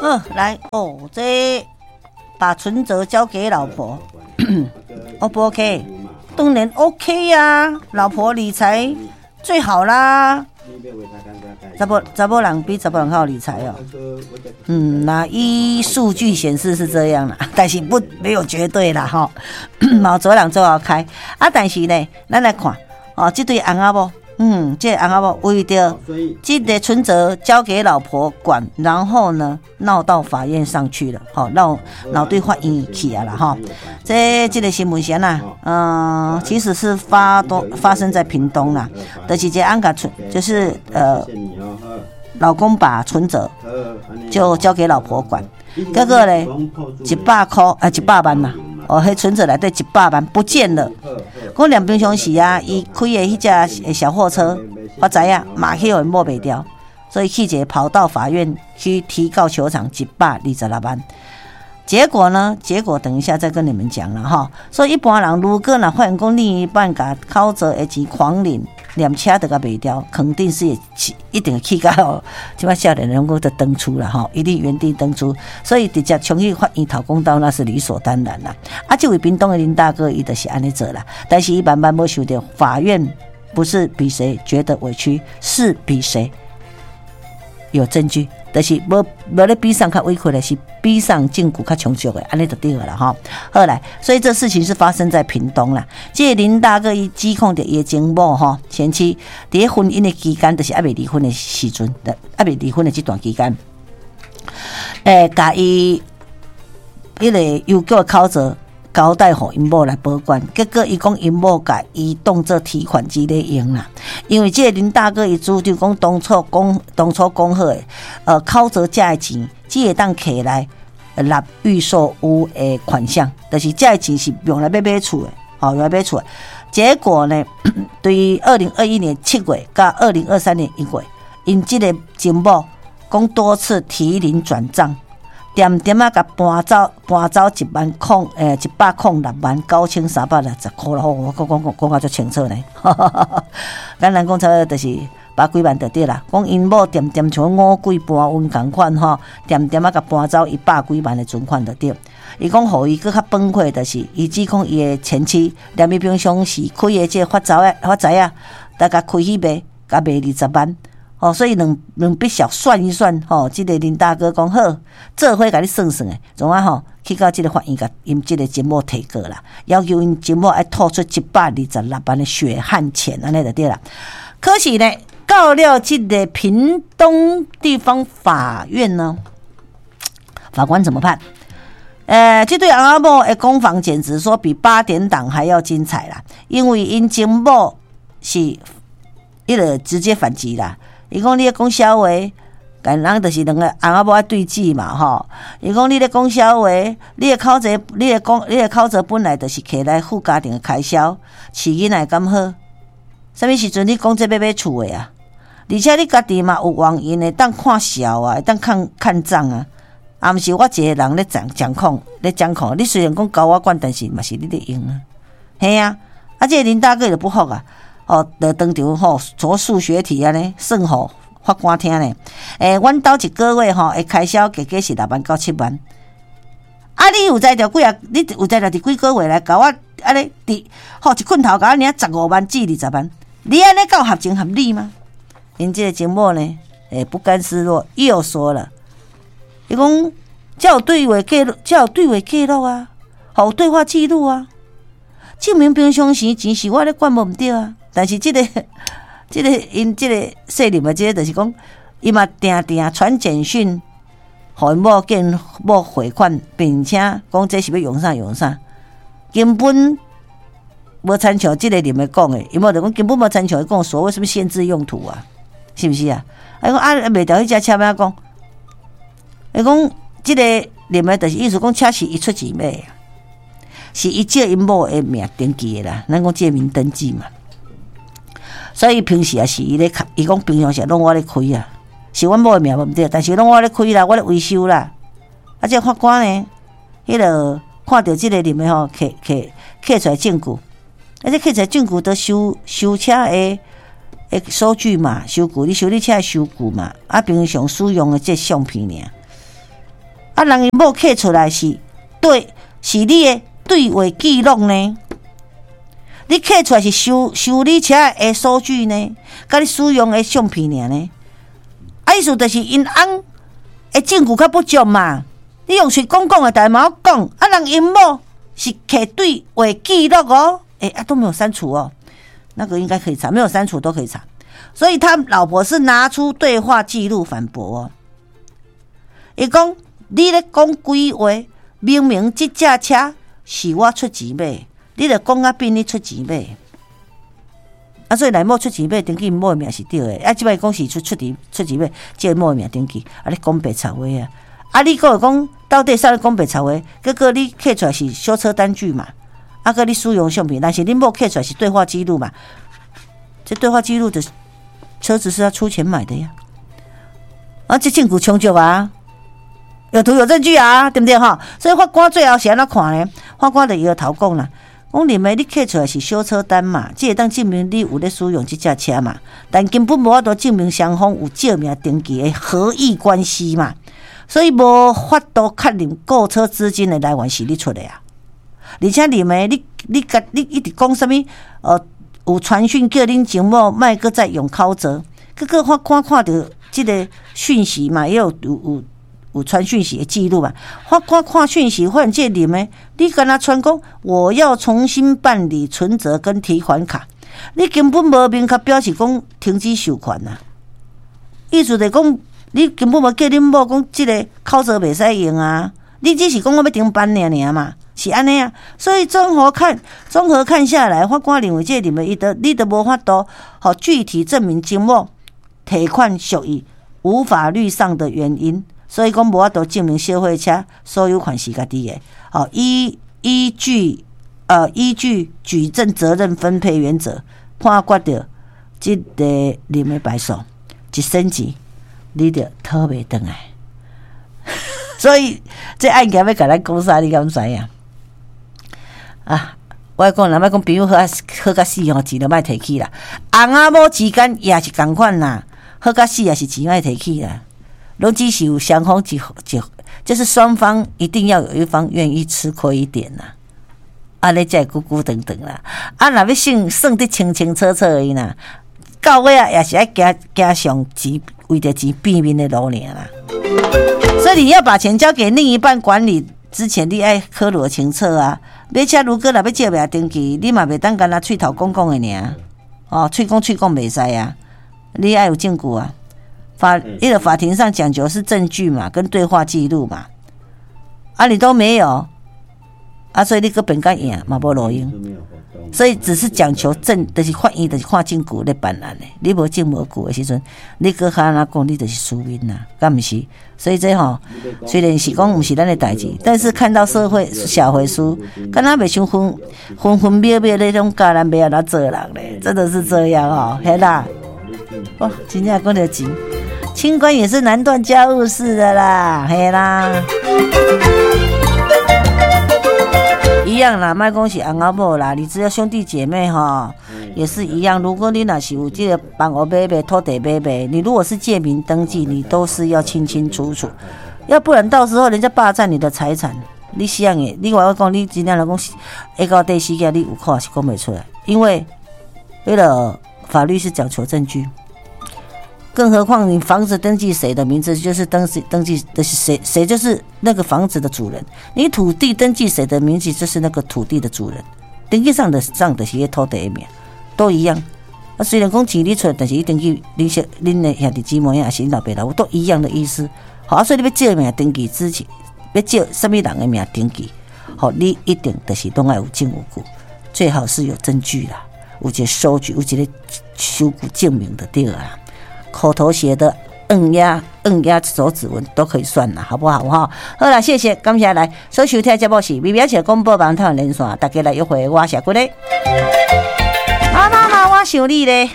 好，來哦，這把存摺交給老婆，O 不 OK？當然 OK 呀，啊，老婆理財最好啦。查某人比查埔人較會理財哦。那依數據顯示是這樣啦，但是不沒有絕對啦吼。嘛有人做好開啊，但是呢，咱來看哦，這對翁仔某。這個翁仔某為著這個存摺交給老婆管，然後呢鬧到法院上去了，吼鬧對法院去啊啦，吼。這個新聞是按怎？其實是發生在屏東啦，就是這翁共存，就是老公把存摺就交給老婆管，結果呢，100塊啊，100萬啦。哦，彼存摺內底一百萬不見了。講連平常時啊，伊開的彼隻小貨車，我知影嘛去予𪜶某賣掉，所以去一個跑到法院去提告求償126萬。結果呢？結果等一下再跟你們講了哈。所以一般人如果若發現講另一半共口座的錢狂領，連車都共賣掉，肯定是一定會去到這擺少年人講就轉厝啦吼，一定原地轉厝，所以直接衝去法院討公道，那是理所當然啦。啊，這位屏東的林大哥，伊就是按呢做啦，但是伊萬萬無想著，法院不是比誰覺得委屈，是比誰有證據，就是無咧比上較委屈的，是比上證據較充足的，按呢就對了吼。好來，所以這事情是發生在屏東啦。這個林大哥伊指控著伊的前某吼，前妻佇婚姻的期間，就是猶未離婚的時陣，猶未離婚的這段期間，共伊彼個郵局的口座交代予𪜶某來保管，結果伊講𪜶某共伊當做提款機咧用啦。因為這個林大哥伊主張講當初講好的，口座這的錢只會當摕來納預售屋的款項，就是這個錢是用來買厝的，吼，用來買厝的。結果呢，對於2021年7月佮2023年1月，𪜶這個前某講多次提領轉賬。恬恬仔共搬走100,669,360箍啦，我講講講甲足清楚呢。簡單講，差不多就是百幾萬就對啦。講𪜶某恬恬像五鬼搬運仝款吼，恬恬仔共搬走一百幾萬的存款就對。伊講予伊閣較崩潰，就是伊指控伊的前妻，連伊平常時開的這個發財仔發財仔，大概開去賣，共賣20萬。哦，所以兩筆小算一算，吼，這個林大哥講好，做伙共你算算的，創啊吼，去到這個法院共𪜶這個前某提告啦，要求𪜶前某愛吐出126萬的血汗錢，按呢就對啦。可是呢，到了這個屏東地方法院呢，法官怎麼判？這對翁仔某的攻防簡直說比八點檔還要精彩啦，因為𪜶前某是彼個直接反擊啦。伊講你咧講痟話，共人就是兩個翁仔某愛對峙嘛吼。伊講你咧講痟話，你的口座，你的講，你的口座本來就是摕來付家庭的開銷，飼囡仔敢好？啥物時陣你講這欲買厝的啊？而且你家己嘛有網銀會當看數啊，會當看看帳啊。啊，毋是我一個人咧掌掌控，咧掌控。你雖然講交我管，但是嘛是你咧用啊。嘿啊，啊，這個林大哥就不服啊。哦，就當場吼做數學題按呢算予法官聽呢。阮兜一個月吼，的開銷加加是6萬到7萬。啊，你有才調幾啊？你有才調佇幾個月來共我按呢佇吼一棍頭共我領15萬至20萬？你按呢夠合情合理嗎？𪜶這個前某呢，不甘示弱，又說了，伊講這有對話記錄，這有對話記錄啊，有對話記錄啊，證明平常時錢是我咧管無毋對啊。但是這個𪜶這個細林的這個就是講，伊嘛定定傳簡訊，予𪜶某見某匯款，並且講這是欲用啥用啥，根本無親像這個林的講的，伊某就講根本無親像伊講所謂啥物限制用途啊，是毋是啊？伊講啊賣掉彼隻車欲按怎講？伊講這個林的就是意思講車是伊出錢買的，是伊借𪜶某的名登記的啦，咱講借名登記嘛。所以平時也是伊咧開，伊講平常時攏我咧開啊，是阮某的名無毋對，但是攏我咧開啦，我咧維修啦。啊，這個法官呢，彼個看著這個林的吼，摕摕摕出來證據，啊，這摕出來證據都修車的收據嘛，收據你修理車的收據嘛，啊，平常使用的這相片爾。啊，人𪜶某摕出來是對，是你的對話記錄呢？你摕出來是修修理車的收據呢？佮你使用的相片爾呢？啊，意思就是𪜶翁的證據較不足嘛？你用喙講講的，但嘛講，啊，人𪜶某是摕對話記錄哦，欸，啊都沒有刪除哦，那個應該可以查，沒有刪除都可以查。所以他老婆是拿出對話記錄反駁哦。伊講你咧講鬼話，明明這架車是我出錢買，你著講甲變你出錢買。啊，所以來某出錢買，登記某的名是對的。啊，這擺講是出出錢出錢買，這個某的名登記，啊，你講白賊話啊！啊，你閣會講到底啥咧講白賊話？結果你摕出來是修車單據嘛？啊，閣你使用相片，但是恁某摕出來是對話記錄嘛？這對話記錄的車子是要出錢買的呀！啊，這證據充足啊，有圖有證據啊，對毋對哈？所以法官最後是按怎看呢？法官就搖頭講啦，講認為你摕出來是修車單嘛，這會當證明你有咧使用這架車嘛，但根本無法度證明雙方有借名登記的合意關係嘛，所以無法度確認購車資金的來源是你出的啊。而且認為你你共你一直講啥物？有傳訊叫恁前某莫閣再用口座，結果法官看著這個訊息嘛，也有有有有傳訊息的記錄嘛。法官看訊息，發現這林的，你敢若傳講我要重新辦理存摺跟提款卡，你根本無明確表示講停止授權啊。意思就是講，你根本無叫恁某講這個口座袂使用啊，你只是講我欲重辦爾爾嘛。是按呢啊，所以綜合看下來，法官認為這認為伊都你都無法度，予具體證明前某提款屬於無法律上的原因，所以講無法度證明小貨車所有權是家己的。哦，依據舉證責任分配原則判決著這個林的敗訴，一仙錢你著討袂轉來。所以這案件欲共咱講啥，你敢知影？啊！我講，若欲講朋友好啊，好甲死吼，錢就莫提起啦。翁仔某之間也是仝款啦，好甲死也是錢莫提起啦。攏只是有雙方一一，就是雙方一定要有一方願意吃虧一點啦，按呢才會久久長長啦。啊，若欲算算得清清楚楚的啦，到尾啊也是愛行行上錢，為著錢變面的路爾啦。所以你要把錢交給另一半管理之前，你愛考慮清楚啊。買車如果若欲借名登記，你嘛袂當干焦喙頭講講的爾，哦，喙講喙講袂使啊，你愛有證據啊。因為法庭上講求是證據嘛，跟對話記錄嘛，啊，你都沒有，啊，所以你閣辯較贏嘛無路用，所以只是講求證，就是法院就是看證據咧辦案的，你無證無據的時陣，你閣較按怎講，你就是輸面啦，敢毋是？所以這吼，雖然是講毋是咱的代誌，但是看到社會小回書，敢若袂像分分分秒秒咧種教咱欲按怎做人咧，真的是這樣哦，嘿啦，哇，真正講著錢，清官也是難斷家務事的啦，嘿啦。一樣啦，莫講是翁仔某啦，你只要兄弟姐妹哈，也是一樣。如果你若是有這個房屋買賣、土地買賣，你如果是借名登記，你都是要清清楚楚，要不然到時候人家霸佔你的財產，你死樣的，你話我講，你真正來講，下到第四件你有苦是講袂出來，因為為了法律是講求證據。更何況你房子登記誰的名字，就是登記的是誰，誰就是那個房子的主人。你土地登記誰的名字，就是那個土地的主人。登記上的上的是土地的名，都一樣。啊，雖然講錢你出，但是伊登記恁小恁的兄弟姊妹抑是恁老爸老母都一樣的意思。好，所以你欲借名登記之前，欲借啥物人的名登記，好，你一定就是攏愛有證有據，最好是有證據啦，有一個收據，有一個收據證明的對啦。口頭寫的，按壓按壓手指紋都可以算啦，好不好？哈，好啦，謝謝，感謝來，所收聽節目是微微笑廣播網台連線，大家來約會，我是骨咧。啊，媽媽，我想你咧。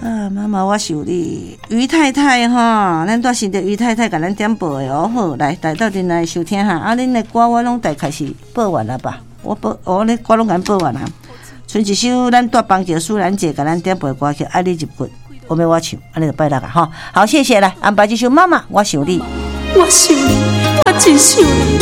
啊，媽媽，我想你。余太太哈，咱拄先著余太太共咱點播的哦，好，來，來鬥陣來收聽哈。啊，恁的歌我攏大概是播完了吧？我播，我咧歌攏共播完啦。賰一首咱蹛邦橋舒蘭姐共咱點播的歌曲《愛你入骨》。我欲我唱，按呢就拜六啊，吼，好，謝謝來安排這首《媽媽，我想你》。我想你，我真想你。